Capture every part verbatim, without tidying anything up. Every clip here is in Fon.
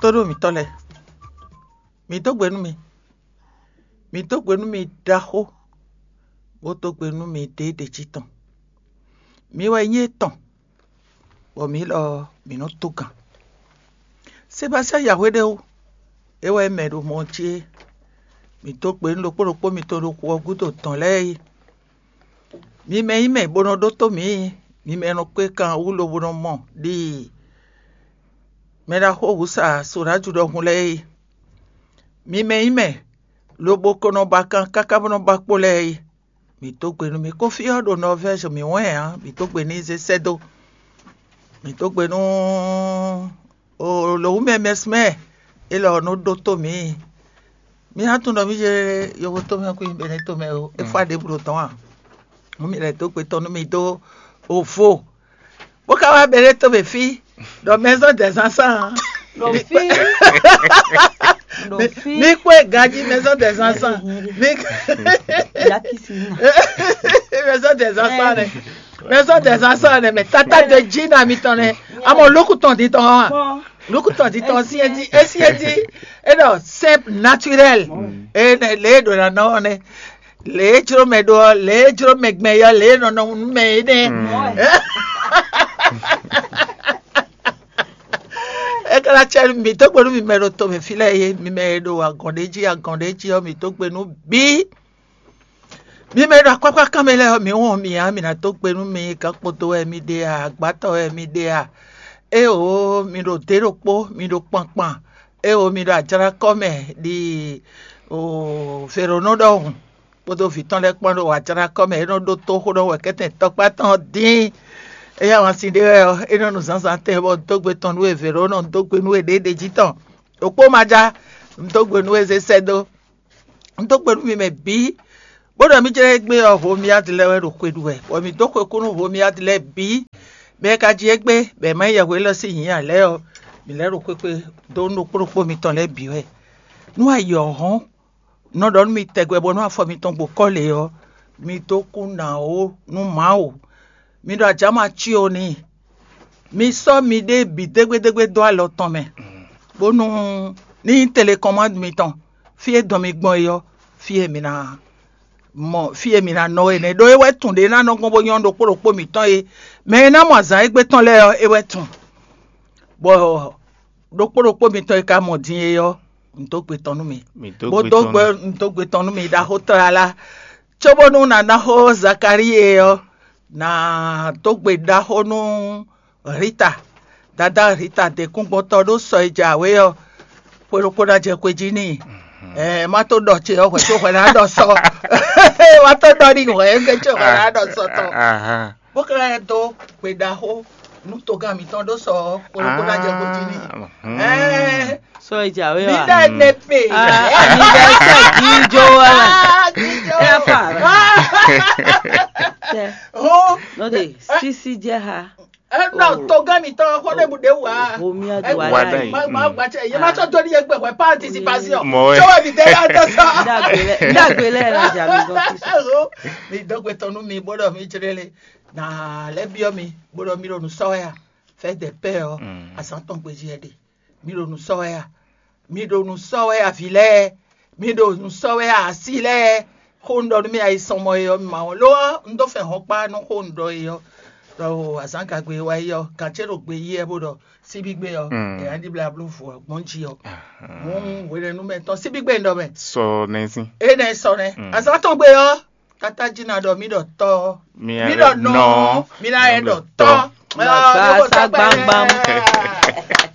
Tóɖó mǐtɔn lɛ́ɛ, mǐ dó gbe nú mi. Mǐ dó gbe nú mi ɖaxó, bó dó gbe nú mi ɖěɖě jí tɔn. Mi wɛ nyí étɔn, bɔ mǐ lɔ mǐ nɔ tó gǎn. Sebastiyáan Yahwéɖéwu, é wɛ mɛ ɖo mɔ jí é. Mǐ dó gbe nú ɖokpó ɖokpó mitɔn ɖo xu ɔ́ gúdo dɔ̌n lɛ́ɛ é. Mi mɛ nyí mɛ bó nɔ ɖótó mǐ, mi mɛ nɔ kpé kan wú lobo nɔ mɔ ɖi mɛ ɖaxó wǔsa Soɖáju ɖɔhun lɛ́ɛ é. Mi mɛ nyí mɛ lobo ko nɔ ba kan káká bó nɔ ba kpó lɛ́ɛ é. Mǐ dó gbe nú mi. Kófí ɔ́ ɖo Nɔvɛ́zi mǐ wɛn ǎ, mǐ dó gbe n'i zé sɛ́ dó. Mǐ dó gbe nú lǒwúmɛ mɛsmɛ élɔ́ nɔ ɖótó mǐ. Mi ná tunwun ɖɔ mǐ yé yovó tomɛ kú nyí Bɛnɛ́ tomɛ ó, é fá ɖěbǔ ɖo dɔ̌n ǎ. Mú mi lɛ́ dó gbe tɔn nú mi dó ovo, bó ka wá Bɛnɛ́ tomɛ fí ɖɔ maison des enfants. Ɖo fí. Ɖo fí. Mi kpó ganjí maison des enfants. Mi Yakisina. Maison des enfants nɛ. Maison des enfants nɛ, mais tata de jí na mitɔn nɛ. Amɔ lókù tɔn di tɔn wa. Lókù tɔn di tɔn si edi esi edi. E ɖɔ simple naturel. E nɛ lě e ɖo na nɔ ɔ́ nɛ. Lě e jló mɛ ɖó ɔ́, lě e jló mɛ gbɛn yɔ, lě e nɔ nɔ nú mɛ é nɛ. É ka ná cɛ mi dó gbe nú mi mɛ ɖo tomɛ fí lɛ́ɛ é, mi mɛ e ɖo agɔn ɖé jí agɔn ɖé jí ɔ́, mi dó gbe nú bǐ. Mi mɛ e ɖo akpákpá kan mɛ lɛ́ɛ ɔ́, mi wɔn mi ǎ, mi ná dó gbe nú mi, gǎn kpoto wɛ mi ɖe a, agbátɔ wɛ mi ɖe a? Éeǒ, mi ɖo dě ɖokpó, mi ɖo kpankpan. Éeǒ, mi ɖo ajlakɔ mɛ ɖi vèɖónɔ ɖɔhun, kpódó vǐ tɔn lɛ́ɛ kpán ɖo ajlakɔ mɛ, é nɔ ɖótó xó ɖɔ wɛ kɛ́tɛn tɔkpá tɔn dín. Éyɛ́ wǎn sin ɖé wɛ ɔ́, é nɔ nu zǎnzǎn tɛn bɔ un dó gbe tɔn nú we vě ɖó nɔ un dó gbe nú we ɖěɖě jí tɔn. Ɖokpó ma ja, un dó gbe nú we zé sɛ́ dó. Un dó gbe nú mi mɛ bǐ, bó ɖɔ mì jlɛ́ égbé ɔ́, Homiad lɛ́ɛ wɛ ɖo xwe ɖu wɛ, bɔ mǐ dó xwe kú nú Homiad lɛ́ɛ bǐ. Mɛ e ka ji égbé, bɔ è ma nyí yɛhweɖɔ sín nyǐ ǎ lɛ́ɛ ɔ́, mǐ lɛ́ ɖo xwé xwe dó nú ɖokpó ɖokpó mitɔn lɛ́ɛ bǐ wɛ. Nú ayǐ ɔ́ hɔ́n, un nɔ ɖɔ nú mi tɛgbɛ bónú afɔ mitɔn gbo kɔ́ lě ɔ́, mi dó kú nǎ ó nú Mawu. Mi ɖo ajǎma cí ó n'i. Mi sɔ́ miɖée bǐ dégbédégbé dó alɔ tɔn mɛ, bónú ní nyí telekɔ́mándu mitɔn, fí e dɔn mi gbɔn é ɔ́, fí e mi ná mɔ fí e mi ná nɔ é nɛ́, ɖó é wɛ tun ɖě ná nɔ gbɔn bó nyɔ́ ɖokpó ɖokpó mǐtɔn é. Mɛ e ná mɔ azǎn égbé tɔn lɛ́ɛ ɔ́, é wɛ tun. Bɔ ɖokpó ɖokpó mitɔn e ka mɔ din é ɔ́, un dó gbe tɔn nú mi. Mi dó bó gbe dó tɔn gbe nú un dó gbe tɔn nú mi ɖaxó tlala, cóbónú nǎ ná xó Zakalíi é ɔ́, nǎ dó gbe ɖaxó nú Rita. Dadá Rita dě kúngbɔ́tɔ́ ɖó sɔ e jǎwe ɔ́, xwe ɖokpó ná jɛ xwe jí n'i. Ɛɛ, má tó ɖɔ ce ɔ́, hwɛ tó hwɛ ná ɖɔ sɔ. Má tó ɖɔ n'i hwɛ égbé ce hwɛ ná ɖɔ sɔ tɔn. Bó ka lɛ́ dó gbe ɖaxó nú togán mǐtɔn ɖó sɔ ɔ́, xwe ɖokpó ná jɛ xwe jí n'i. Ɛɛ, Sɔ e jǎwe mi wa. Ɖe ne pe. Ah, anniversaire gíjó wa. Ah, gíjó. Ẹ fà. Tẹ. Hó. Nɔ de sisi jẹ ha. Ẹ nɔ togán mi tɔn xɔ ne bu de wa. Omi adu wa Wa da yi. Ma ma gba cɛ. Ye ma tɔ to ni ye gbɛ wɛ pa anticipation. Mɔ wɛ. Tso wa mi de la tɔ sɔ. Ndagbe lɛ ndagbe lɛ la ja mi gɔn fi sɔ. Hó. Mi dɔgbe tɔnu mi bɔdɔ mi tsere le. Na lɛ biɔ mi bɔdɔ mi ɖo nu sɔ ya. Fɛ de pɛ ɔ. Azan tɔn gbeji ɛ de. Mi ɖo nǔ sɔ́ wɛ a? Mi ɖo nǔ sɔ́ wɛ a, vǐ lɛ́ɛ? Mi ɖo nǔ sɔ́ wɛ a, asi lɛ́ɛ? Xó un ɖɔ nú mi ayisɔnmɔ e ɔ́, mi ma wɔn lo ɔ́, un dó fɛn hɔn kpá nú xó un ɖɔ e ɔ́. Ɖɔ azǎn gagbe e wá yi ɔ́, gǎn ce ɖo gbe yí wɛ bó ɖɔ síbígbe ɔ́, è nǎ ɖibla bló vǔ ɔ́ gbɔn jí ɔ́. Hǔn hwenɛ́nu mɛ tɔn síbígbe un ɖɔ mɛ. Sɔ nɛ́ sín. Énɛ́ sɔ nɛ́. Azǎn tɔn gbe ɔ́, Tata jí ná ɖɔ mí ɖɔ tɔ́, mí ɖɔ nɔ, mí ná yɛ ɖɔ tɔ́. Gbagba sá gbangban.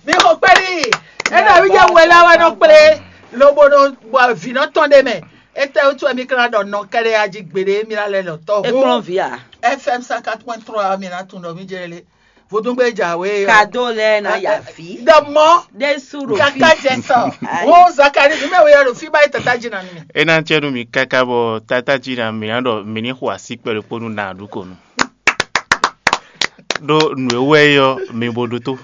Mi xo kpɛɖi. Ena wi jɛ wɛ la wɛ nɔ kplé, lobo nɔ bɔ vǐ nɔ tɔn ɖe mɛ. Etɛ wútu wɛ mi ka ná ɖɔ nɔ kɛɖɛ ya jí gbeɖe, mi ná lɛ ɖɔ tɔ́. Ekplɔ́n vǐ a? F M cent quatre point trois, mi ná tunɔ mi jɛ lé. Vodungbe jǎwe ɔ́. Kado lɛ na ya fi. Dɔmɔ. Ɖesu ɖo fi. Kaka jɛ sɔ. Wo Zakari, mi mɛ wo ya ɖo fi ba yi tata jí na mi. E na cɛ nu mi kaka bɔ tata jí na mi na ɖɔ mi ni xɔ asi kpɛɖe kponu na ɖu ko nu. Ɖo nu e wɛ yɔ mi bo ɖo to.